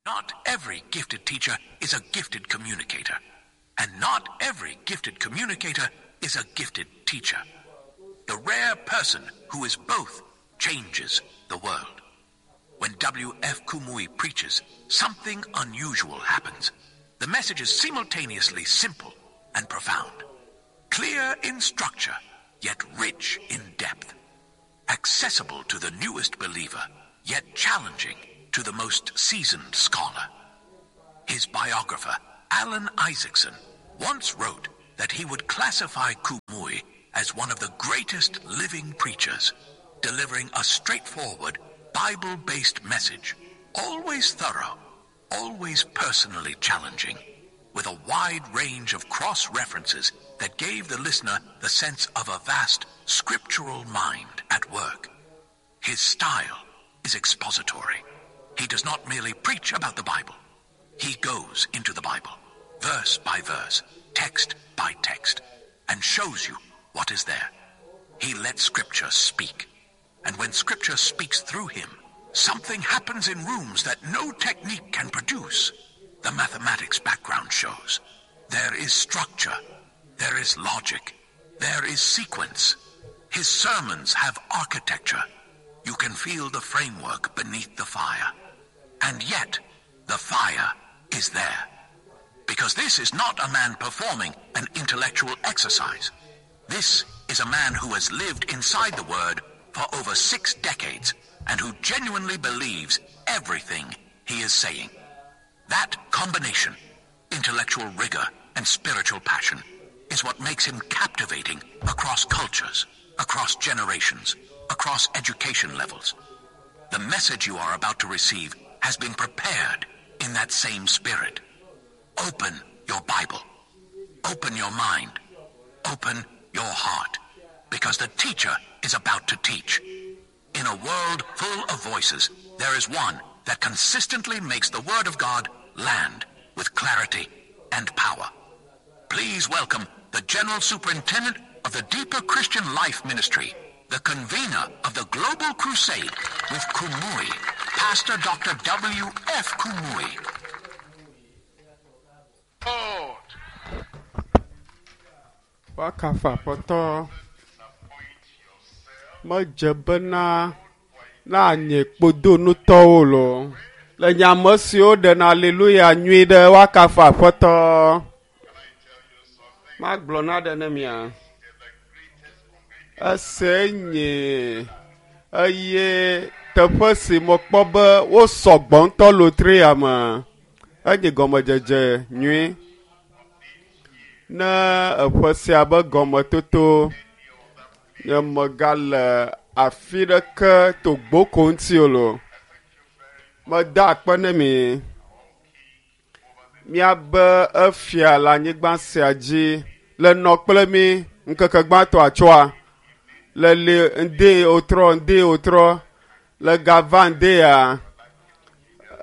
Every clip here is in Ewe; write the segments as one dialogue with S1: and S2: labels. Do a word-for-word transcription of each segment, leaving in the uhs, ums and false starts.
S1: Not every gifted teacher is a gifted communicator, and not every gifted communicator is a gifted teacher. The rare person who is both changes the world. When W F. Kumuyi preaches, something unusual happens. The message is simultaneously simple and profound, clear in structure, yet rich in depth, accessible to the newest believer, yet challenging to the most seasoned scholar. His biographer, Alan Isaacson, once wrote that he would classify Kumuyi as one of the greatest living preachers, delivering a straightforward, Bible-based message, always thorough, always personally challenging, with a wide range of cross-references that gave the listener the sense of a vast scriptural mind at work. His style is expository. He does not merely preach about the Bible. He goes into the Bible, verse by verse, text by text, and shows you what is there. He lets Scripture speak. And when Scripture speaks through him, something happens in rooms that no technique can produce. The mathematics background shows. There is structure. There is logic. There is sequence. His sermons have architecture. You can feel the framework beneath the fire. And yet, the fire is there. Because this is not a man performing an intellectual exercise. This is a man who has lived inside the Word for over six decades and who genuinely believes everything he is saying. That combination, intellectual rigor and spiritual passion, is what makes him captivating across cultures, across generations, across education levels. The message you are about to receive has been prepared in that same spirit. Open your Bible. Open your mind. Open your heart. Because the teacher is about to teach. In a world full of voices, there is one that consistently makes the Word of God land with clarity and power. Please welcome the General Superintendent of the Deeper Christian Life Ministry, the convener of the Global Crusade with Kumuyi, Pastor Doctor W F. Kumuyi.
S2: Wakafa pɔtɔ medze bena na nye kpodonutɔwo lo. Le nyame siwo ɖena aleluya nyui ɖe wakafa aƒetɔ. Magblɔ na ɖe ne mia. Ese nye eye teƒe si mekpɔ be wosɔ gbɔ ŋutɔ lotria me. Enye gɔmedzedze nyui. Ne eƒe sia be gɔmetoto nye megale afi ɖeke to gboko ŋuti o lo. Meda akpe ne mi. Miabe efia le anyigba sia dzi le nɔ kple mi ŋkeke gbãtɔ atsɔa. Le li ŋdi wotrɔ, ŋdi wotrɔ, le gava ŋdi ya.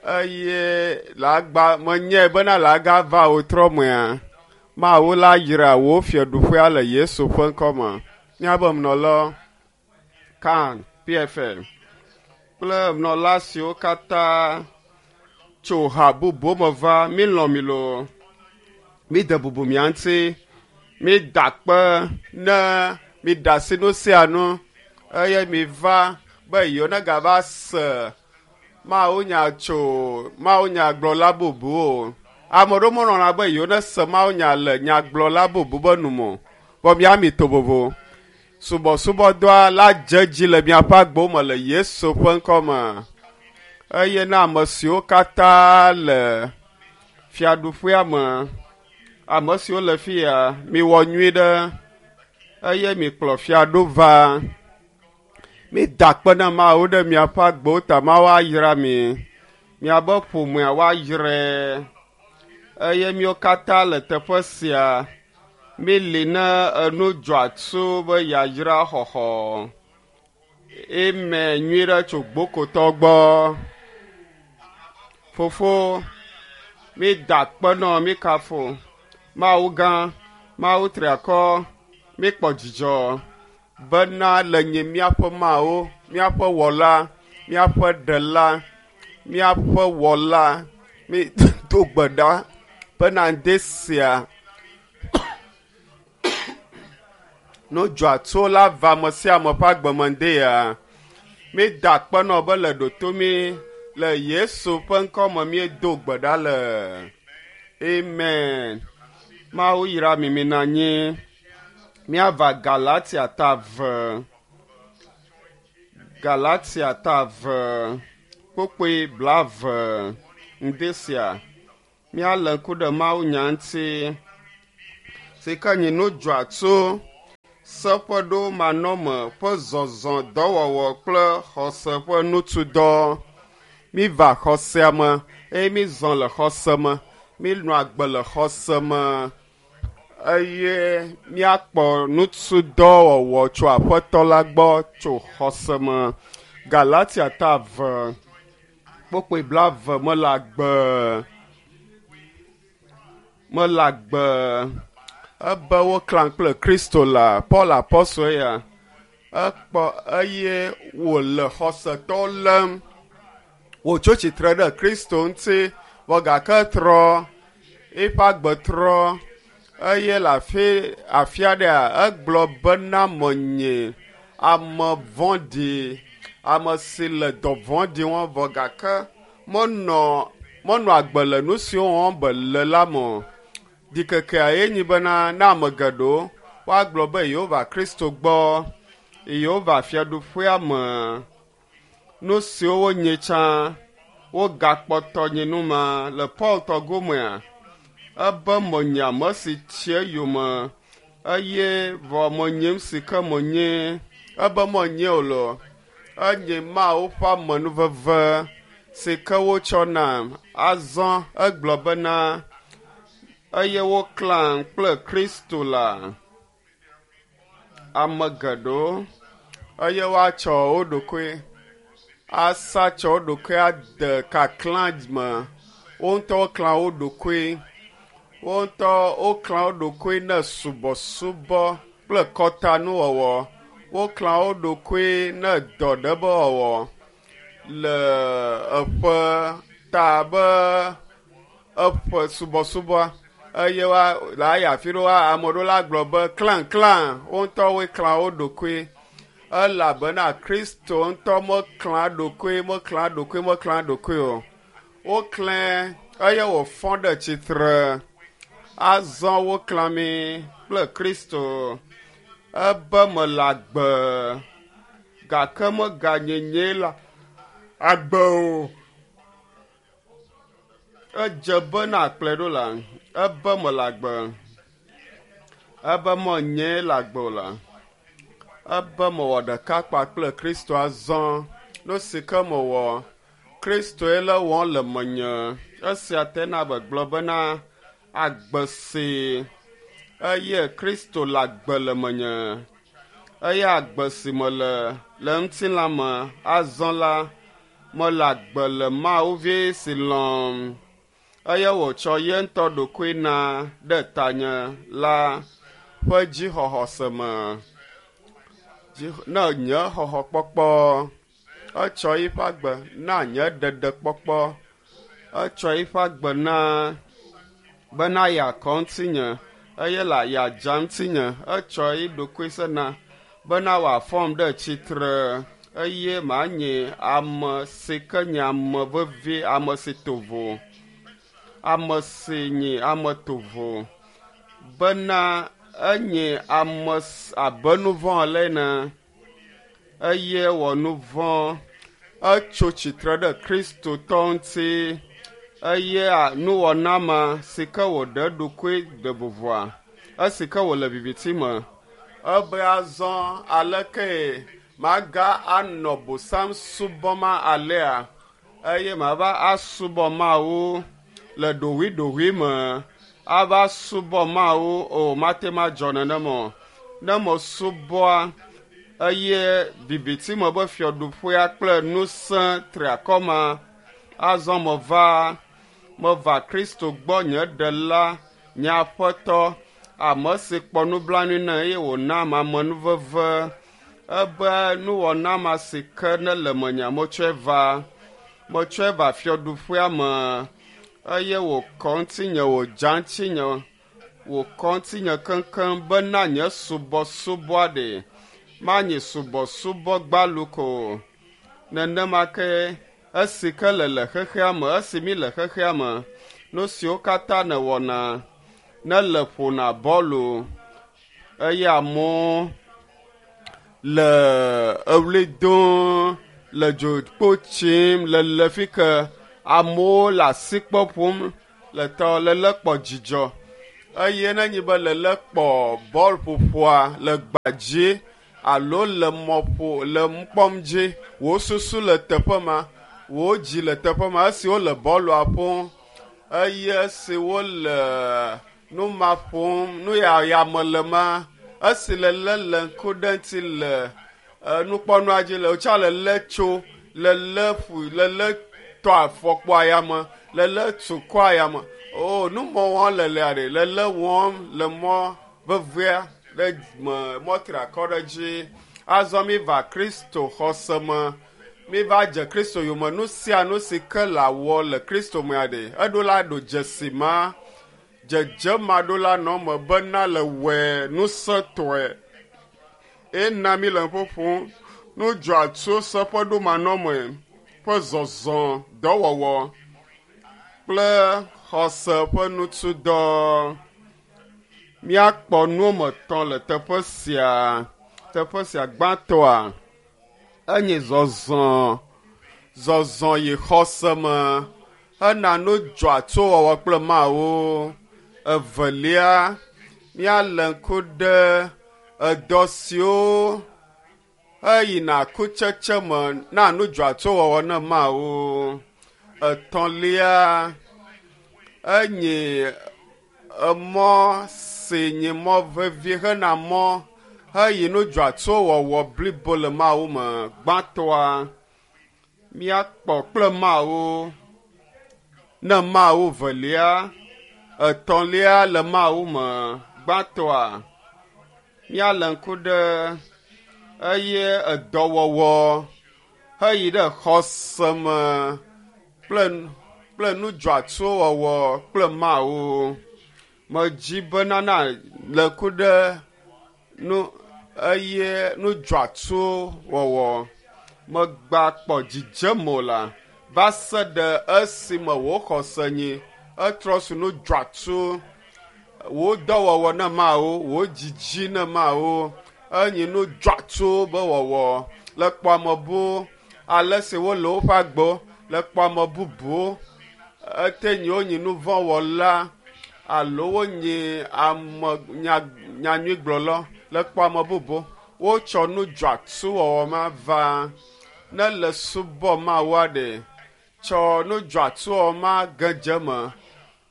S2: Eye le agba menyae bena le agava wotrɔ mea. Mawu la yra wò fiaɖuƒea le Yesu ƒe ŋkɔme. Míabe menɔla Kan P F M kple menɔla siwo katã tso ha bubu me va, mílɔ̃ mi loo. Míde bubu mia ŋuti, mída akpe ne míɖe asi nu sia nu eye miva be yewo negava se Mawunya tso mawunyagblɔla bubu o. Ame ɖewo melɔ̃na be yewo nese mawunya le nyagblɔla bubu be nu me o. Vɔ miami to vovo. Subɔsubɔdɔa la dze dzi le miaƒe agbewo me le Yesu ƒe ŋkɔme. Eye na ame siwo katã le fiaɖuƒea me, ame siwo le fi ya, miwɔ nyui ɖe eye mikplɔ fiaɖo va. Mida akpe na Mawu ɖe miaƒe agbewo ta, Mawu ayra mi. Miabe ƒomea woayrae. Eye míwo katã le teƒe sia, míli ne enu dzɔatsu be yayra xɔxɔ. Eme nyui ɖe tso gbokotɔ gbɔ. Fofo, mída akpe nɔ mí kafo. Mawu gã, Mawu triakɔ, míkpɔ dzidzɔ bena le nye míaƒe Mawu, míaƒe wɔla, míaƒe ɖela, míaƒe wɔla, Mi do gbe ɖa bena ŋde sia no dzɔatso la va ame sia ame ƒe agbeme ŋde ya. Mi da akpe nɔ be le ɖoto mi le Yesu ƒe ŋkɔme míedo gbe ɖa le. Amen. Mawu yra mi mi na anyi. Míava Galatia ta eve. Galatia ta eve kpukpui blaeve ŋde sia. Míalé ŋku ɖe Mawu nya ŋuti si ke nyi nu dzɔatso seƒeɖo manɔme ƒe zɔzɔ dɔwɔwɔ kple xɔse ƒe nutudɔ. Míva xɔsea me eye mízɔ le xɔse me. Míenɔ agbe le xɔse me eye míakpɔ nutudɔwɔwɔ tso Aƒetɔ la gbɔ tso xɔse me. Galatia ta eve kpukpui blaeve mele agbe. Mele agbe. Ebe woklã kple Kristo la Paul apɔstol ya ekpɔ eye wòle xɔsetɔwo lém. Wòtso tsitre ɖe Kristo ŋuti vɔ gake trɔ eƒe agbe trɔ eye le afi afi aɖea egblɔ bena menye ame vɔ̃ɖi ame si le dɔ vɔ̃ɖi wɔm vɔ gake menɔ menɔ agbe le nu siwo wɔm be le la me o. Ɖikekea ye nyi bena ne ame geɖewo woagblɔ be yewova Kristo gbɔ, yewova fiaɖuƒea me. Nu siwo wonyi tsã wogakpɔtɔ nyi nu ma le Paul tɔ gomea ebe menye ame si tsi eyome eye vɔ menyim si ke menye ebe menye o lo enye Mawu ƒe amenuveve si ke wotsɔ nam. Azɔ egblɔ bena eye woklã kple Kristo la ame geɖewo eye woatsɔ wo ɖokui asa tsɔ wo ɖokui ade kaklã me. Wo ŋutɔ woklã wo ɖokui. Wo ŋutɔ woklã wo ɖokui ne subɔsubɔ kple kɔtanuwɔwɔ. Woklã wo ɖokui ne dɔ ɖe be wɔwɔ le eƒe ta be eƒe subɔsubɔa eye wa le ayi afi ɖe wa ame ɖewo la gblɔ be klãklã wo ŋutɔ woe klã wo ɖokui elabena Kristo ŋutɔ meklã ɖokui meklã ɖokui meklã ɖokui o. Woklãe eye wòfɔ ɖe tsitre. Azɔ woklã mí kple Kristo. Ebe mele agbe gake meganye nyee la agbe o. Edze be na kplɔe ɖo la ebe mele agbe. Ebe menye le agbe o la. Ebe mewɔ ɖeka kpakple Kristo azɔ. Nu si ke mewɔ Kristoe le wɔm le menye. Esia tena be gblɔ bena agbe si eye Kristo le agbe le menye. Eye agbe si mele le ŋutilã me azɔ la mele agbe le Mawu vi si lɔ̃m eye wòtsɔ ye ŋutɔ ɖokui na ɖe tanye la ƒe dzixɔxɔse me. Ne nye xɔxɔkpɔkpɔ etsɔ eƒe agbe na nye ɖeɖekpɔkpɔ. Etsɔ eƒe agbe na bena yeakɔ ŋutinye eye la yeadza ŋutinye. Etsɔ eɖokui se na bena wòafɔm ɖe tsitre eye manye ame si ke nye ame vevi, ame si to vo, ame si nye ame tovo bena enye ame abe nu vɔ̃ ale ene eye wɔ nu vɔ̃. Etso tsitre ɖe Kristotɔ ŋuti eye nuwɔna ma si ke wòɖe eɖokui ɖe vovoa esi ke wòle viviti me. Ebe azɔ aleke maga anɔ bosam subɔm alea eye mava asubɔ Mawu le ɖoɖoeɖoɖoe me. Ava subɔ Mawu o mate madzɔ nenema o. Ne mesubɔa eye viviti me be fiaɖuƒea kple ŋusẽ triakɔ ma azɔ meva meva Kristo gbɔ nye ɖela nye Aƒetɔ ame si kpɔ nublanui ne eye wòna amenuveve ebe nuwɔna ma si ke ne le menye metsɔe va metsɔe va fiaɖuƒea me Eye wòkɔ ŋutinye, wòdza ŋutinye, wòkɔ ŋutinye keŋkeŋ bena nye subɔsubɔa ɖe manyi subɔsubɔ gbalu ko. Nenema ke esi ke le le xexea me, esi mi le xexea me, nu siwo katã nèwɔna ne le ƒona bɔlu eye amewo le eɣli dom le dzokpo tsim le le fi ke amewo le asikpe ƒom le tɔ lele kpɔ dzidzɔ eye nenye be lele kpɔ bɔl ƒoƒoa le gbadzi alo le mɔƒo le nukpɔm dzi wò susu le teƒe ma wò dzi le teƒe ma esi wole bɔlua ƒom eye esi wole nu ma ƒom nu ya yame le ma esi lele le ŋku ɖe ŋuti le nukpɔnua dzi le wotsa lele tso lele ƒu lele tɔ afɔkpo ayame lele tu kɔ ayame o numɔ wɔm lelea ɖe lele wɔm le mɔ vevea ɖe me mɔtriakɔ ɖe dzi azɔ mi va Kristo xɔse me mi va dze Kristo yome nu sia nu si ke le awɔ le Kristo mea ɖe eɖo la ɖo dzesi ma dzedze ma ɖo la nɔ me bena le wɔe nusẽtɔe ena mi le ƒoƒom nu dzɔatso seƒeɖomanɔme ƒe zɔzɔ dɔwɔwɔ kple xɔse ƒe nutudɔ. Míakpɔ nu wɔme etɔ̃ le teƒe sia. Teƒe sia gbãtɔa enye zɔzɔ zɔzɔ yi xɔse me hena nu dzɔatso wɔwɔ kple Mawu. Evelia míalé ŋku ɖe edɔ siwo eyina kutsetse me na nu dzɔatso wɔwɔ ne Mawu. Etɔ̃lia enye emɔ si nye mɔ vevi hena mɔ heyi nu dzɔatso wɔwɔ blibo le Mawu me. Gbãtɔa míakpɔ kple Mawu ne Mawu velia etɔ̃lia le Mawu me. Gbãtɔa míalé ŋku ɖe eye edɔwɔwɔ heyi ɖe xɔse me kple kple nu dzɔatso wɔwɔ kple Mawu. Medzi bena na le ŋku ɖe nu eye nu dzɔatso wɔwɔ megba kpɔ dzidzeme o la va se ɖe esime wò xɔse nyi etrɔ su nu dzɔatso wò dɔwɔwɔ ne Mawu wò dzidzi ne Mawu enyi nu dzɔatso be wɔwɔ le kpɔ ame buwo ale si wole woƒe agbewo le kpɔ ame bubuwo ete nyi wonyi nu vɔ̃ wɔla alo wonyi ame nya nyanyuigblɔla le kpɔ ame bubu wotsɔ nu dzɔatso wɔwɔ ma va ne le subɔ Mawu aɖe tsɔ nu dzɔatso wɔwɔ ma gedze me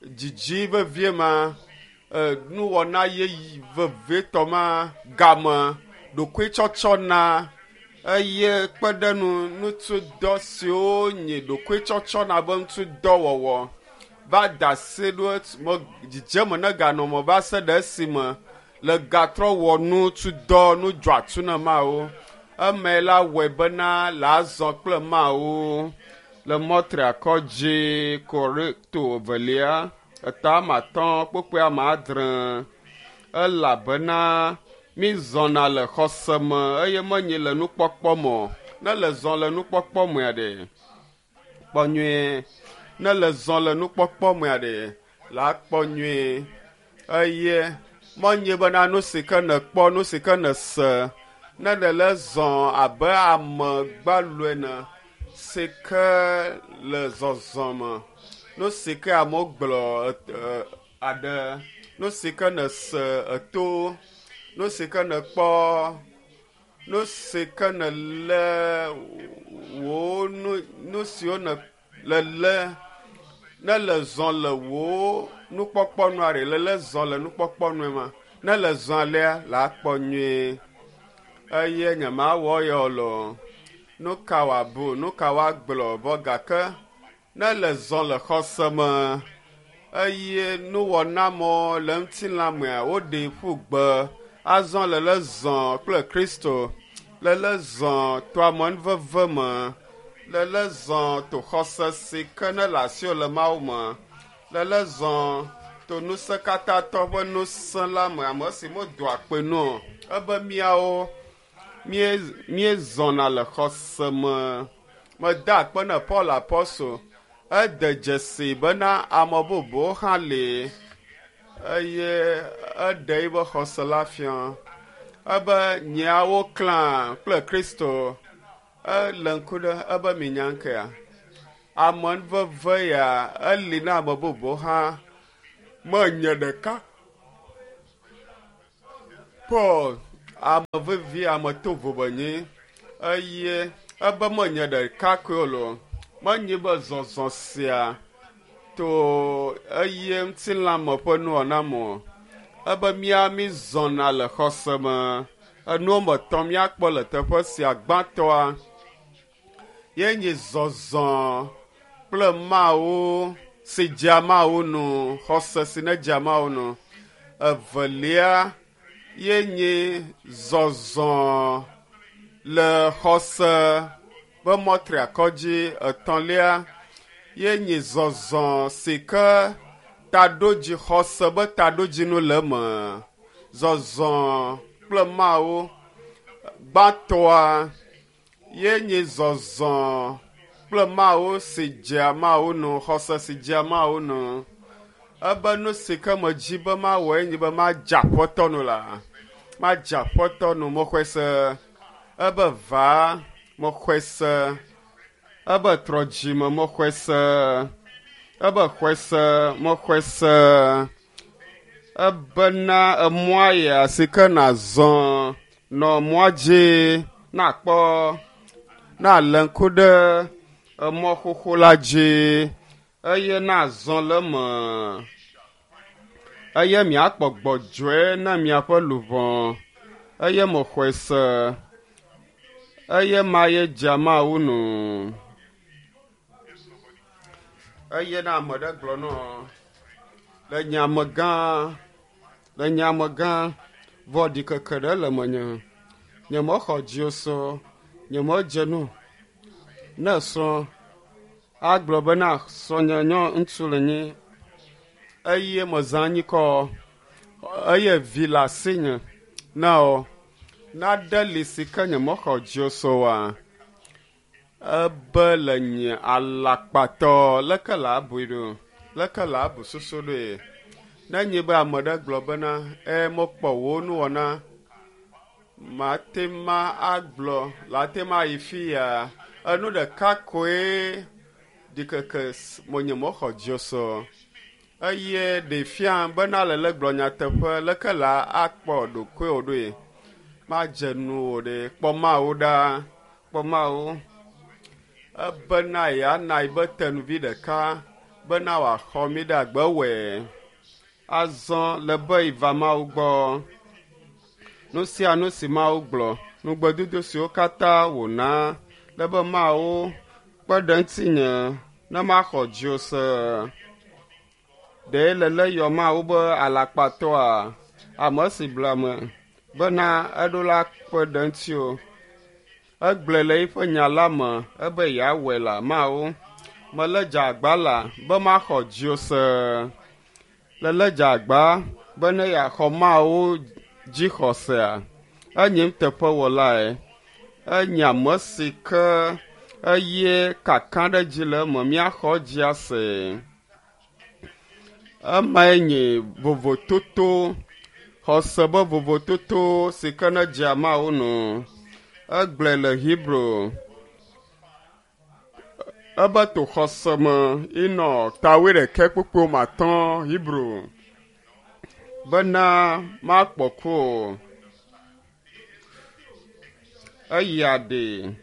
S2: dzidzi vevie ma nuwɔna yeye vevitɔ ma game ɖokuitsɔtsɔ na eye kpe ɖe nu nutudɔ siwo nye ɖokuitsɔtsɔ na be ŋutudɔwɔwɔ va da asi ɖo me dzidzeme ne ganɔ me va se ɖe esime le gatrɔ wɔ nutudɔ nu dzɔatso ne Mawu. Eme la wɔe bena le azɔ kple Mawu le mɔtriakɔ dzi Korinto evelia eta ame atɔ̃ kpukpui ame adre elabena mi zɔna le xɔse me eye menye le nukpɔkpɔ me o. Ne le zɔ le nukpɔkpɔ mea ɖe kpɔ nyuie ne le zɔ le nukpɔkpɔ mea ɖe la kpɔ nyuie eye menye bena nu si ke nèkpɔ nu si ke nèse ne le le zɔ abe ame gbalo ene si ke le zɔzɔ me nu si ke amewo gblɔ aɖe nu si ke nèse eto nu si ke nèkpɔ nu si ke nèlé wò nu nu siwo ne le lé ne le zɔ le wò nukpɔkpɔ nua ɖe le le zɔ le nukpɔkpɔ nua ma ne le zɔ alea la kpɔ nyuie eye nyemawɔ ya o loo nu ka wòabu nu ka woagblɔ vɔ gake ne le zɔ le xɔse me eye nuwɔnamɔ le ŋutilã mea woɖee ƒu gbe azɔ le le zɔ kple Kristo le le zɔ to amenuveve me le le zɔ to xɔse si ke ne le asiwò le Mawu me Lele zɔ to ŋusẽ katãtɔ ƒe ŋusẽ la me ame si medoa kpe nu o. Ebe míawo míezɔna le xɔse me. Meda akpe na Paul Apɔstol. Ede dzesi bena ame bubuwo hã li eye eɖe eƒe xɔse la fia. Ebe nyeawo klã kple Kristo. Ele ŋku ɖe ebe minya ŋkea. Ame veve ya eli na ame bubuwo hã. Menye ɖeka. Paul ame vevi ame tovo benye eye ebe menye ɖeka koe o. Menye be zɔzɔ sia to eye ŋutilãme ƒe nuwɔna me o. Ebe mía mi zɔna le xɔse me. Enuwo me tɔ míakpɔ le teƒe sia gbãtɔa ye nye zɔzɔ kple Mawu si dzea Mawu nu, xɔse si ne dzea Mawu nu. Evelia ye nye zɔzɔ le xɔse be mɔtriakɔ dzi. Etɔ̃lia ye nye zɔzɔ si ke taɖodzi xɔse be taɖodzinu le eme. Zɔzɔ kple Mawu gbãtɔa ye nye zɔzɔ kple Mawu si dzea Mawu nu, xɔse si dzea Mawu nu. Ebe nu si ke medzi be mawɔe nye be madze aƒetɔ nu la. Madze aƒetɔ nu, mexɔe se. Ebe va, mexɔe se. Ebe trɔ dzime, mexɔe se. Ebe xɔe se, mexɔe se. Ebena emɔa ya si ke nazɔ nɔ mɔa dzi nakpɔ nalé ŋku ɖe emɔ xoxo la dzi eye nazɔ le eme eye miakpɔ gbɔdzɔe na miaƒe luʋɔ eye mexɔe se eye ma ye dzea Mawu nu. Eye na ame ɖe gblɔ nɔ le nye amegã le nye amegã vɔ ɖikeke ɖe le menye. Nye mexɔ dziwò so, nye medze nu. Ne srɔ̃ agblɔ bena srɔ̃nye nyɔ ŋutsu le nyi eye mezã anyikɔ eye vi le asinye na o naɖe li si ke nye mexɔ dziwò so oa ebe le nye alakpatɔ leke le abui ɖo leke le abu susu ɖoe. Ne nye be ame ɖe gblɔ bena e mekpɔ wò nuwɔna mate ma agblɔ la te ma yi fi ya enu ɖeka koe ɖikeke menye mexɔ dziwò so eye ɖe fia bena le le gblɔ nyateƒe leke la akpɔ ɖokuiwò ɖoe. Madze nu wò ɖe kpɔ Mawu ɖa kpɔ Mawu ebena yeana yi be tenuvi ɖeka bena wòaxɔ mi ɖe agbe wɔe. Azɔ le be yiva Mawu gbɔ. Nu sia nu si Mawu gblɔ, nugbedodo siwo katã wòna le be Mawu kpe ɖe ŋutinye ne maxɔ dziwò se. Ɖe le le yɔ Mawu be alakpatɔa, ame si ble ame bena eɖo la kpe ɖe ŋutiwò. Egblɔe le eƒe nya la me ebe yeawɔe la Mawu. Mele dze agba la be maxɔ dziwò se. Lele dze agba be ne yeaxɔ Mawu dzixɔsea. Enye nuteƒewɔlae. Enye ame si ke eye kaka ɖe dzi le eme míaxɔ dzi ase. Emae nye vovototo, xɔse be vovototo si ke ne dzea Mawu nu. Egblɔe le Hebrew ebe to xɔse me inɔ tawoe ɖekɛ kpukpuiwo me atɔ̃ Hebrew bena makpɔ ku o. Eya ɖe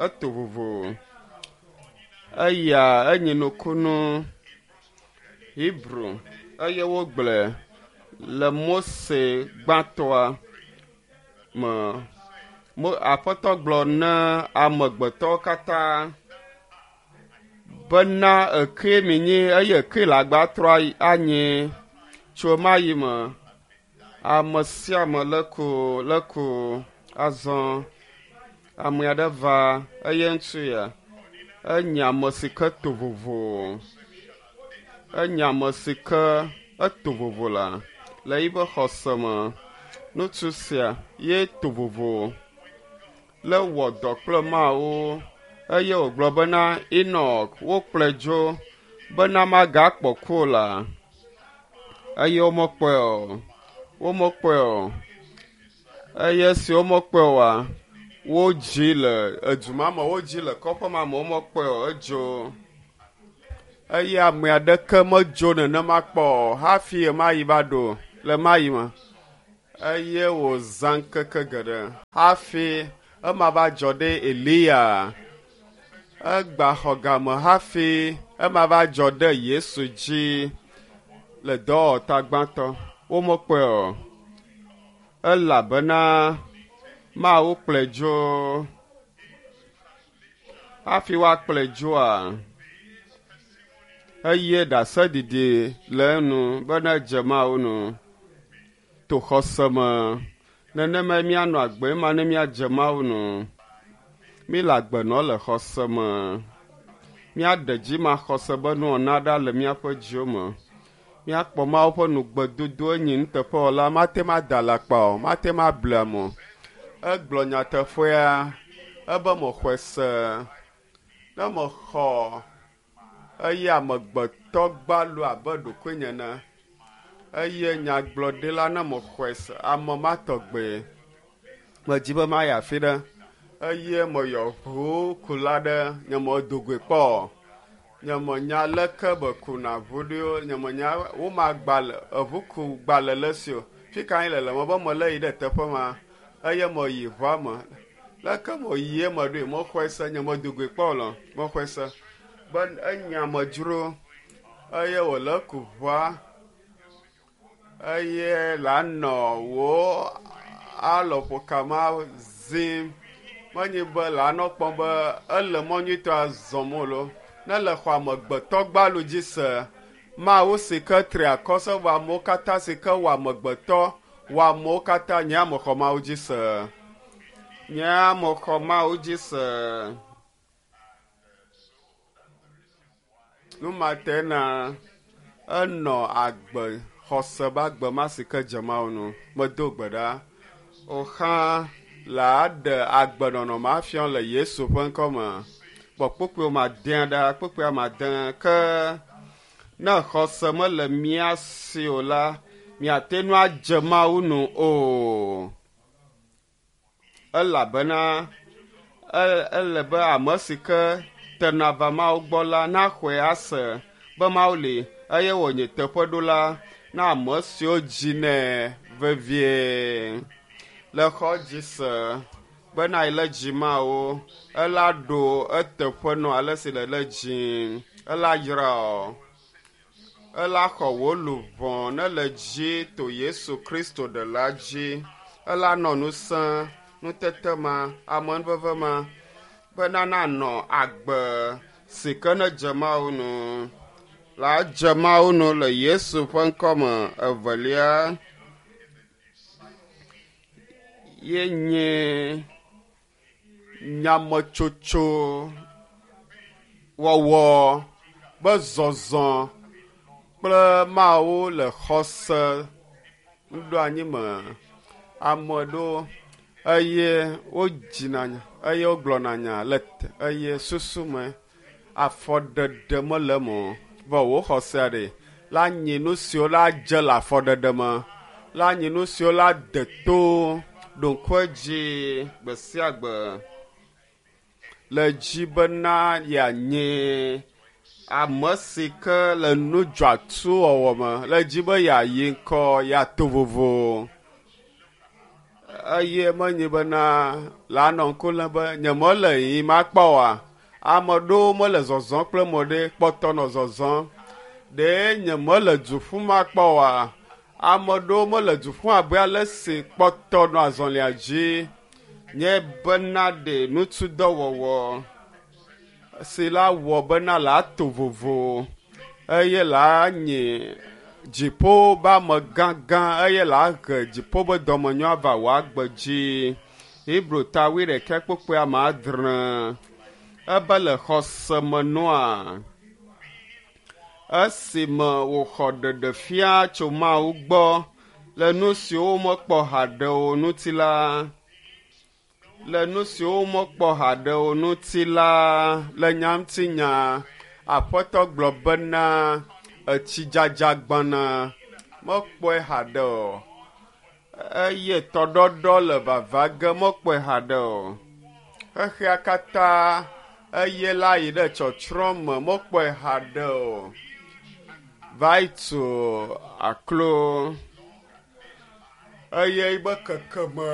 S2: eto vovo. Eya enye nukunu Hebrew eye wogblɔe le Mose gbãtɔa me. Mo aƒetɔ gblɔ na amegbetɔwo katã bena eke mi nyi eye eke le agba trɔ anyi tso ma yi me. Ame sia ame le ku le ku azɔ ame aɖe va eye ŋutsu ya enye ame si ke to vovo. Enye ame si ke eto vovo la le yiƒe xɔse me. Ŋutsu sia ye to vovo le wɔ dɔ kple Mawu eye wògblɔ bena Enɔk wokplɔe dzo bena magakpɔ ku o la eye womekpɔe o. Womekpɔe o. Eye esi womekpɔe oa, wodzi le edu ma me, wodzi le kɔƒe ma me, womekpɔe o, edzo. Eye ame aɖeke medzo nenema kpɔ o hafi ɣemaɣi va ɖo le ɣemaɣi me. Eye wòzã ŋkeke geɖe hafi ema va dzɔ ɖe Eliya. Egba xɔ game hafi ema va dzɔ ɖe Yesu dzi le dɔwɔta gbãtɔ. Womekpɔe o elabena Mawu kplɔe dzo. Hafi woakplɔe dzoa, eye ɖaseɖiɖi le enu bena edze Mawu nu to xɔse me. Nenemae míanɔ agbe ma ne míadze Mawu nu. Míle agbe nɔ le xɔse me. Míaɖe dzimaxɔse be nuwɔna ɖa le míaƒe dziwo me. Míakpɔ Mawu ƒe nugbedodo enyi nuteƒewɔla, mate ŋu ada alakpa o, mate ŋu able ame o. Egblɔ nyateƒea ebe mexɔe se. Ne mexɔ eye amegbetɔ gbalo abe ɖokuinye ene eye nyagblɔɖila ne mexɔe se ame ma tɔgbe medzi be mayi afi ɖe eye meyɔ ʋukula ɖe nye medo goe kpɔ o. Nye menya leke be kuna ʋu ɖo nye menya woma gbalẽ eʋukugbalẽ le esi o. Fi ka le le me be mele yi ɖe teƒe ma eye meyi ʋua me. Leke meyi eme ɖoe mexɔe se nye medo goe kpɔ o lɔ mexɔe se be enye amedzro eye wòle ku ʋua eye la nɔ wò alɔƒokama zim. Menye be la nɔ kpɔm be ele mɔ nyuitɔa zɔm o loo. Ne le xɔ amegbetɔ gbalo dzi se, Mawu si ke tri akɔ se wɔ amewo katã si ke wɔ amegbetɔ wɔ amewo katã nye ame xɔ Mawu dzi se. Nye ame xɔ Mawu dzi se. Nu ma te na enɔ agbe xɔse be agbe ma si ke dze Mawu nu. Medo gbe ɖa. Wòxã la ɖe agbenɔnɔ ma fiɔ le Yesu ƒe ŋkɔ me. Kpɔ kpukpuiwo ma dea ɖa, kpukpuia ma de ke ne xɔse mele mía si o la, míate ŋu adze Mawu nu o. Elabena ele be ame si ke tena va Mawu gbɔ la naxɔe ase be Mawu li eye wònye teƒeɖola na ame siwo dzinɛ vevie. Le xɔ dzi se bena ele dzi Mawu, ela ɖo eteƒe nɔ ale si le le dzi, ela yra o. Ela xɔ wò luʋɔ ne le dzi to Yesu Kristo ɖela dzi. Ela nɔ ŋusẽ, nutete ma, amenuveve ma bena nanɔ agbe si ke ne dze Mawu nu. La dze Mawu nu le Yesu ƒe ŋkɔ me. Evelia ye nye nyametsotso wɔwɔ be zɔzɔ kple Mawu le xɔse nuɖoanyi me. Ame ɖewo eye wodzina nya eye wogblɔna nya le eye susu me afɔɖeɖe mele eme o. Vɔ wò xɔsea ɖe la nyi nu siwo la dze le afɔɖeɖe me, la nyi nu siwo la de to ɖo ŋku edzi gbe sia gbe le dzi bena yeanye ame si ke le nu dzɔatsu wɔwɔ me, le dzi be yeayi ŋkɔ, yeato vovo. Eye menye bena la nɔ ŋku lém be nye mele yiyim akpɔ oa. Ame ɖewo mele zɔzɔm kple mɔ ɖe kpɔtɔ nɔ zɔzɔm. Ɖe nye mele du ƒum akpɔ oa. Ame ɖewo mele du ƒum abe ale si kpɔtɔ nɔ azɔlia dzi. Nye bena ɖe ŋutudɔwɔwɔ si la wɔ bena la to vovo eye la nye dziƒo be amegãgã eye la he dziƒo be dɔmenyo ava wò agbe dzi. Hebrew ta wuiɖekɛ kpukpui ame adre. Ebe le xɔse me nua, Esime wòxɔ ɖeɖefia tso Mawu gbɔ le nu siwo womekpɔ haɖe o ŋuti la, le nu siwo womekpɔ haɖe o ŋuti la, le nya ŋuti nya, Aƒetɔ gblɔ bena etsidzadza gbɔna, mekpɔe haɖe o eye tɔɖɔɖɔ le vava ge mekpɔe haɖe o. Xexea katã eye la yi ɖe tsɔtsrɔ̃ me mekpɔe haɖe o. Va yi tu aklo eye yibe kekeme